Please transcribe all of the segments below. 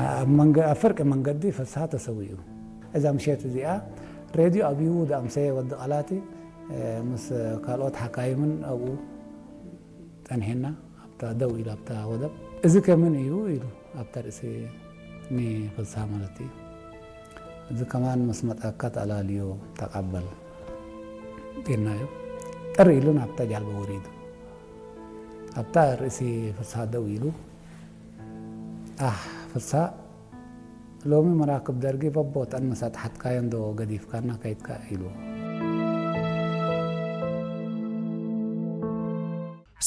ኣብ መንገ-፣ ኣብ ፍርቂ መንገዲ ፍስሃ ተሰዊኡ። እዛ ምሸት እዚኣ ሬድዮ ኣብዩ ዝኣምሰየ ወዲ ቃላቲ፣ እ፣ ምስ ካልኦት ሓካይምን ኣብኡ ጸኒሕና፣ ኣብታ ደው ኢሉ ኣብታ ወደብ። "እዚ ከምን እዩ?" ኢሉ ኣብታ ርእሲ ንፍስሃ ማለት እዩ። "እዚ ከማን ምስ መጻካ ተኣላልዮ ተቐበል" ኢልናዮ። ጥር ኢሉ ናብታ ጃልባ ወሪዱ። ኣብታ ርእሲ ፍስሃ ደው ኢሉ፣ "ኣህ ፍስሃ፣ ሎሚ መራክብ ደርጊ በቦተን ምስ ኣጥሓትካየን ዶ ገዲፍካና ከይድካ?" ኢሉ።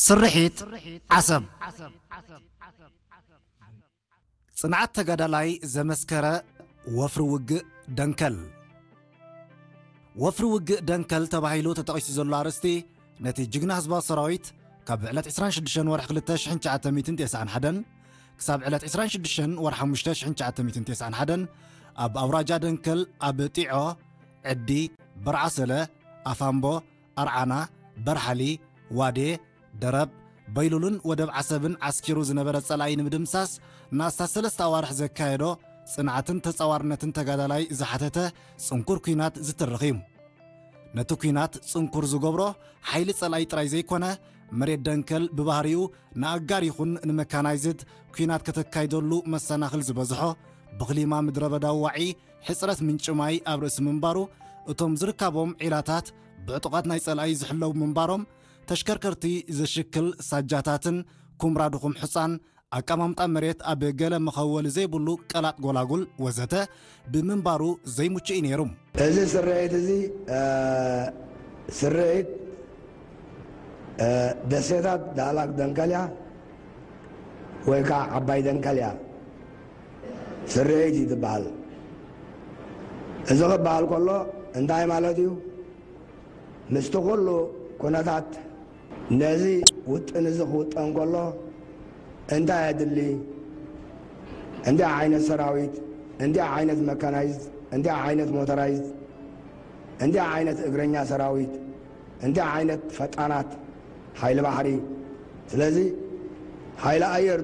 ስርሒት ዓሰብ። ጽንዓት ተጋዳላይ ዘመስከረ ወፍሪ ውግእ ደንከል። ወፍሪ ውግእ ደንከል ተባሂሉ ተጠቒሱ ዘሎ ኣርእስቲ፣ ነቲ ጅግና ህዝባዊ ሰራዊት ካብ ዕለት ዕስራን ሽዱሽተን ወርሒ ክልተ ሽሕን ትሽዓተ ሚእትን ተስዓን ሓደን ክሳብ ዕለት ዕስራን ሽዱሽተን ወርሒ ሓሙሽተ ሽሕን ትሽዓተ ሚእትን ተስዓን ሓደን ኣብ ኣውራጃ ደንከል፣ ኣብ ጢዖ፣ ዕዲ፣ በርዓሰለ፣ ኣፋምቦ፣ ኣርዓና፣ በርሓሊ፣ ዋዴ፣ ደረብ፣ በይሉልን ወደብ ዓሰብን ዓስኪሩ ዝነበረ ጸላኢ ንምድምሳስ ንኣስታት ሰለስተ ኣዋርሕ ዘካየዶ ጽንዓትን ተጻዋርነትን ተጋዳላይ ዝሓተተ ጽንኩር ኲናት ዝትርኽ እዩ። ነቲ ኲናት ጽንኩር ዝገብሮ ሓይሊ ጸላኢ ጥራይ ዘይኮነ፣ መሬት ደንከል ብባህሪኡ ንኣጋር ይኹን ንመካናይዝድ ኲናት ከተካይደሉ መሰናኽል ዝበዝሖ፣ ብኽሊማ ምድረ በዳዊ ዋዒ ሕጽረት ምንጪ ማይ ኣብ ርእሲ ምንባሩ፣ እቶም ዝርካቦም ዒላታት ብዕጡቓት ናይ ጸላኢ ዝሕለዉ ምንባሮም፣ ተሽከርከርቲ ዘሽክል ሳጃታትን ኩምራ ድኹም ሑጻን፣ ኣቀማምጣ መሬት ኣብ ገለ መኸወሊ ዘይብሉ ቀላጥ ጎላጉል ወዘተ ብምንባሩ ዘይምቹእ እዩ ነይሩ። እዚ ስርሒት እዚ፣ እ፣ ስርሒት፣ እ፣ ደሴታት ዳህላክ ደንከልያ ወይ ከዓ ዓባይ ደንከልያ ስርሒት እዩ ዝበሃል። እዚ ክበሃል ከሎ እንታይ ማለት እዩ? ምስቲ ኩሉ ኩነታት ነዚ ውጥን እዚ ክውጠን ከሎ እንታይ የድሊ? እንታይ ዓይነት ሰራዊት፣ እንታይ ዓይነት መካናይዝድ፣ እንታይ ዓይነት ሞተራይዝድ፣ እንታይ ዓይነት እግረኛ ሰራዊት፣ እንታይ ዓይነት ፈጣናት ሓይሊ ባሕሪ። ስለዚ ሓይሊ ኣየር